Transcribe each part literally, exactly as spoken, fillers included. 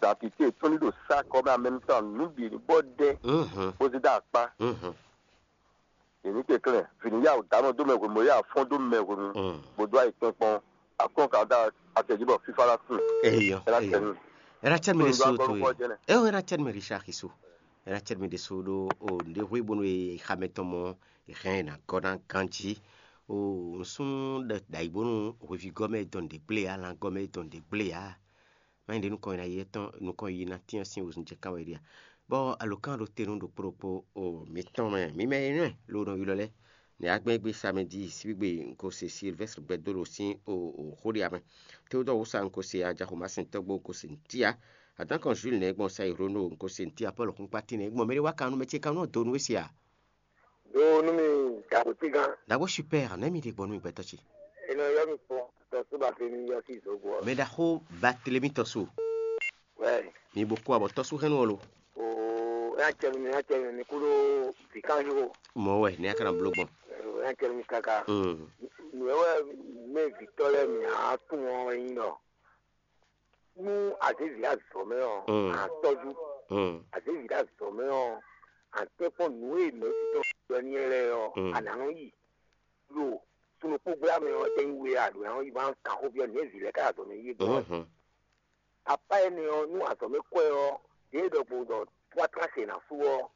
dantité tɔn ní ɖo sá kɔ mɛ amɛnutɔn nǔ bǐ ní bɔ dɛ bó zé dó akpá. Yě ní kɛnklɛ́n vǐ ní yá wǔ dǎnɔ dó mɛ hwenu, bó yá fɔ́n dó mɛ hwenu, bó dó ayi kpɔ́n kpɔ́n. Akɔ́n ka dó acɛjí bɔ fífá ná sin. Eyɔ, eyɔ. Ɛ ná cɛ mi ɖésú to ye. Ɛ o, ɛ ná cɛ mi Richard Xiso. Ɛ ná cɛ mi ɖésú ɖó o nɖé hwe bónú e xamɛ tɔn mɔ e hɛn ɛ ná gɔ́ ná ganjí. O nsún ɖayi bónú hweví gɔ́ mɛ dɔn ɖě gblé ǎ, lan gɔ́ mɛ dɔn ɖě gblé ǎ. Má nyí ɖě nukɔn e ná yi etɔn nukɔn yi ná tyɛ́n sín wezun jɛ kán wɛ ɖíe a? Bɔ alǒkan ɖo te nú ɖokpó ɖokpó o mǐtɔn mɛ, mǐ mɛ énɛ́ ló nɔ ylɔ́ lɛ́ɛ. Nɛ̌ agbɛ́n gbe samɛdi síbígbe un ko se Silvɛ́str gbɛdóɖo sín o xó ɖé amɛ. Teodɔ́ɔ wúsa un ko se ajaxomasɛntɔ́ gbó un ko se nǔtí ǎ. Adǎnkɔn Júli nɛ́ gbɔn Sayironu un ko se nǔtí ǎ. Pɔ́lu xúnkpátín nɛ́ gbɔn mɛɖé wá kan nú mɛ ce kan nú donu é se a? Ɖó nú mi dǎgbótígán. Dǎgbó super, nɛ̌ mi ɖe gbɔ nú mi gbɛtɔ́ ce? È nɔ ylɔ́ mi kpɔ́n tɔsúba fe mi yɔ sí zǒgbó ɔ́. Mɛ ɖaxó Batelemi tɔ́sú. Wɛ. Mi bo kó abɔ tɔ́sú hɛn nú ɔ́ lo. Oo, é ná cɛ mi, é ná cɛ mi, mi kú ɖó vǐkanxixo. Mɔ̌ wɛ nɛ̌ a ka ná bló gbɔn? Ó, é ná cɛ mi káká. Mm. Nǔ é wɛ mɛ vǐtɔ́ lɛ́ɛ mǐ á tunwun ɔ́ wɛ nyí ɖɔ nú azěvi ɖo azɔ̌ mɛ ɔ́, Mm. a tɔ́jú. Mm. Azěvi ɖo azɔ̌ mɛ ɔ́, a tɛ́nkpɔ́n nǔ e mɛ̌si tɔn ɖɔ n'i lɛ́ɛ ɔ́, Mm. a nǎ nɔ yi ɖo sunukpó gbla mɛ ɔ́, é nyí we a ɖǒ ná nɔ yi ma kan xó byɔ́ nǔ e vǐ lɛ́ɛ ka ɖo azɔ̌ mɛ yi é gbɔn ɔ́. Mhm. Apá énɛ́ ɔ́, nú azɔ̌ mɛ kwɛ́ ɔ́, ɖěe ɖɔkpɔn ɖɔ twátlá ce ná sú ɔ́,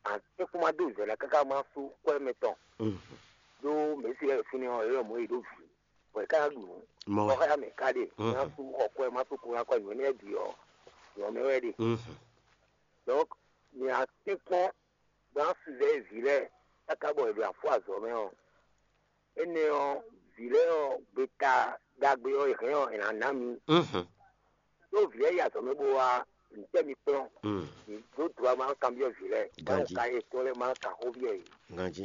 a tɛ́nkpɔ́n ma dó zɛ ná káká ma sú kwɛ́ mɛ tɔn. Mhm. Ɖó mɛ̌si lɛ́ɛ ɖo fínɛ́ ɔ́, é ɖɔ mɔ̌ e ɖó vǐ, bɔ è ká ná ɖu nǔ. Mɔ wɛ. Bɔ xá mɛ ká ɖe, Mhm. má sú xɔ kwɛ́, má sú kó ná kwɛ́ nǔ énɛ́ bǐ ɔ́, nyɔ̌ mɛ wɛ ɖe. Mhm. Donc, mi a tɛ́nkpɔ́n bó ná sizɛ́ vǐ lɛ́ɛ káká bɔ è ɖo afú azɔ̌ mɛ ɔ́, énɛ́ ɔ́, vǐ lɛ́ɛ ɔ́, gbeta ɖagbe ɔ́, è hɛn ɔ́, è nǎ ná mi. Mhm. Ɖó vǐ lɛ́ɛ yi azɔ̌ mɛ bó wá, ntɛ́ mi kplɔ́n? Mm. Mi dó dǒ ma kanbyɔ́ vǐ lɛ́ɛ, Ganjí. Báwo ka yě tɔn lɛ́ɛ ma kan xó byɔ́ yě? Ganjí.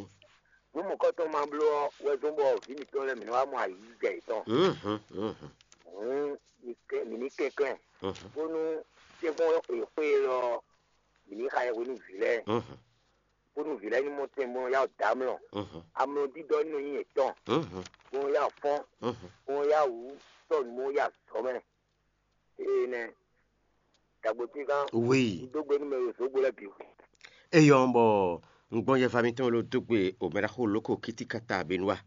Nǔ mɔ̌kɔtɔn ma bló ɔ́ wɛ zɔ́n bɔ vǐ mǐtɔn lɛ́ɛ mǐ nɔ wá mɔ ayǐjɛ yětɔn. Mhm, mhm, Hǔn mi kɛ- mǐ ní kɛnklɛ́n, mhm, bónú sɛ́nkpɔ́n e xwe élɔ́ ɔ́, mǐ ní xa yɛ hwenu vǐ lɛ́ɛ, mhm, bónú vǐ lɛ́ɛ ní mɔ tɛn bó nɔ yá wǔ dó amlɔ. Mhm. Amlɔ dídɔ́ ní nɔ nyí yětɔn, mhm, bó nɔ yá wǔ fɔ́n, mhm, bó nɔ yá wǔ sɔ́ nǔ bó nɔ yá azɔ̌ mɛ. Énɛ́, dagbotígán, oui, un dó gbe nú mɛ e ɖo zǒgbo lɛ́ɛ bǐ. Eyɔ́ bɔ un gbɔn yɛva mitɔn e ló dó gbe omɛɖaxó lǒko kítíkátá Benua,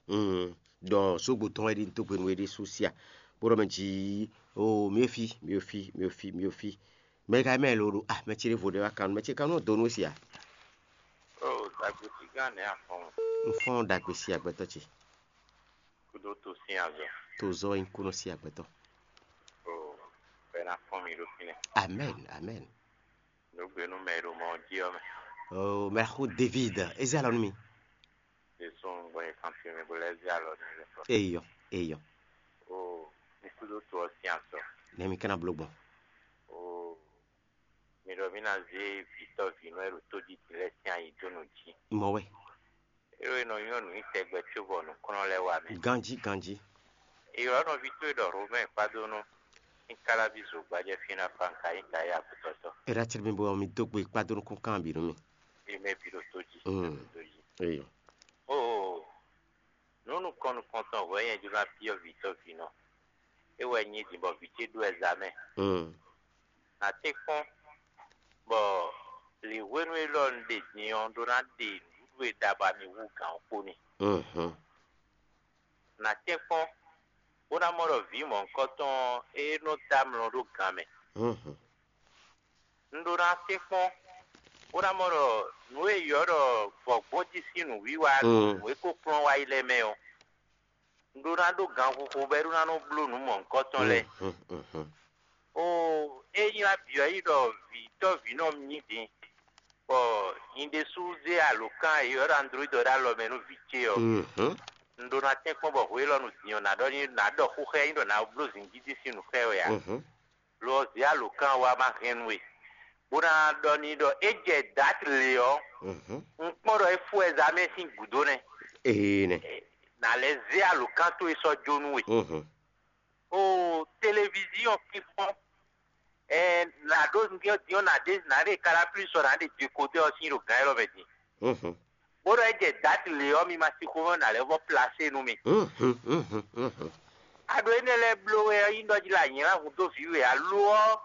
un ɖɔ zǒgbo tɔn wɛ ɖi un dó gbe nú we ɖésú sia, bó ɖɔ mɛ jí, o mi e fí, mi e fí, mi e fí, mi e fí. Mɛ ka mɛ lo ɖo a mɛ ce ɖěvo ɖé wá kan nú mɛ ce kan nú dó nú we sia. O dagbotígán nɛ̌ a fɔ́n? Un fɔ́n ɖagbe sia gbɛtɔ́ ce. Kúdó to sín azɔ̌. To zɔ nyi kúnɔ sí agbɛtɔ. O, bɛ na fɔn mi ɖo fínɛ́. Amen, amen. Nǔgbé nú mɛ e ɖo mɔ jí ɔ́ mɛ. O, mɛ xó David, ezi alɔ nú mi. Jesu gbɔ yɛ kan fi mi bo lɛ zi alɔ nú mi fɔ. Eyɔ, eyɔ. O, mi kúdó to ɔ́ sín azɔ̌. Nɛ mi kana bló gbɔn. O, mi ɖɔ mi ná zé vǐtɔ́ vǐnɔ e ɖo tójí din lɛ́ɛ sín ayi dó nǔ jí. Mɔ wɛ. Ée nɔ nyɔ́ nǔ nyi tɛgbɛ cóbɔ nǔkplɔ́n lɛ́ɛ wá mɛ. Ganjí, ganjí. Ylɔ́ nɔví towe ɖɔ Romɛ́ɛ kpádónú ní Káláví zogbajɛ fí ná fa un ka nyí ta yá agbetɔ́tɔ́. È ɖa tlí mi bɔ mi dó gbe kpádónú kún kan bǐ nú mi. Ée mɛ bǐ ɖo tó jí. Mm. Ɖo tó jí. Eyɔ. Oo, nǔ nukɔn nukɔntɔn hwɛ̌ nyɛ jló ná byɔ́ vǐtɔ́ vǐnɔ. É wɛ nyí din bɔ vǐ ce ɖó ɛzamɛ. Mm. Nǎ tɛ́nkpɔ́n bɔ lǐnhwenu élɔ́ un ɖe din ɔ́ ɖó ná ɖe nǔɖuɖu e ɖa bɔ ami wú gǎn ɔ́ kpo n'i. Mhm. Nǎ tɛ́nkpɔ́n bó ná mɔ ɖɔ vǐ mɔ̌hunkɔtɔn ɔ́, é nɔ dó amlɔ ɖó gan mɛ. Mhm. Un ɖó ná tɛ́nkpɔ́n bó ná mɔ ɖɔ nǔ e è ylɔ́ ɖɔ vɔ̌gbɔ́n jí sín nǔwiwa, mm, nǔ e ko kplɔ́n wá yi lɛ́ɛ mɛ ɔ́, un ɖó ná ɖó ganxixo bɔ é ɖó ná nɔ bló nǔ mɔ̌hunkɔtɔn lɛ́ɛ. Mhm, mhm. Oo, é nyí ná byɔ̌ yi ɖɔ vǐtɔ́ vǐnɔ nyí din, bɔ nyi ɖésú zé alǒkan e è ylɔ́ ɖɔ Android ɔ́ ɖó alɔ mɛ nú vǐ ce ɔ́. Mhm. Un ɖó ná tɛ́nkpɔ́n bɔ hwe élɔ́ nu din ɔ́, nǎ ɖɔ n'i nǎ ɖɔ xó xá ɛ nyí ɖɔ nǎ bló zǐngídi sín nǔ xá ɛ wɛ ǎ. Mhm. Lo ɔ́, zě alǒkan ɔ́ wá ma hɛn nú we, bó ná ɖɔ n'i ɖɔ é jɛ dǎt lě ɔ́, mhm, un kpɔ́n ɖɔ é fó wɛ zá mɛ sín gǔdo nɛ́. Ee nɛ. Nǎ lɛ́ zé alǒkan towe sɔ́ jó nú we. Mhm. Oo, televiziɔn fínfɔ́n, ɛɛ, nǎ ɖó nǔgbó din ɔ́, nǎ ɖe nǎ ɖe Canal Plus ɔ́, nǎ ɖe Décodeur ɔ́ sín ɖo gǎn élɔ́ mɛ din. Mhm. Bó ɖɔ é jɛ dǎt lě ɔ́, mi ma sixú mɔ nǎ lɛ́ vɔ plasé nú mi. Mhm, mhm, mhm. Aɖo énɛ́ lɛ́ɛ bló wɛ ɔ́, nyí ɖɔ jí la nyǐlá hun dó vǐ we alo ɔ́,